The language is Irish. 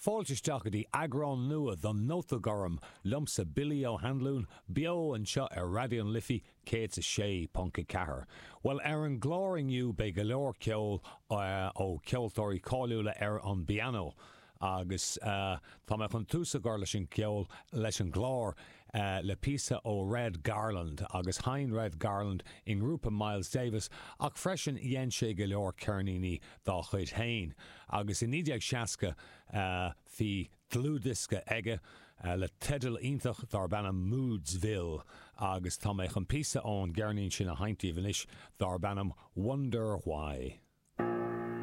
Fáilte isteach go dtí eagrán nua den Nóta Gorm liomsa Billy Ó hAnluain, beo anseo ar Raidió na Life 106.4. Bhuel, ar an gclár inniu beidh go leor ceoil ó cheoltóirí cáiliúla ar an bpianó agus tá mé chun tús a chur leis an gceol, leis an gclár, le píosa ó Red Garland agus sheinn Red Garland i ngrúpa Miles Davis ach freisin dhein sé go leor ceirníní dá chuid féin agus i 1960 bhí dlúthdhiosca aige le teideal iontach darb ainm Moodsville agus tá mé chun píosa ón gceirnín sin a sheinnt daoibh anois darb ainm Wonder Why.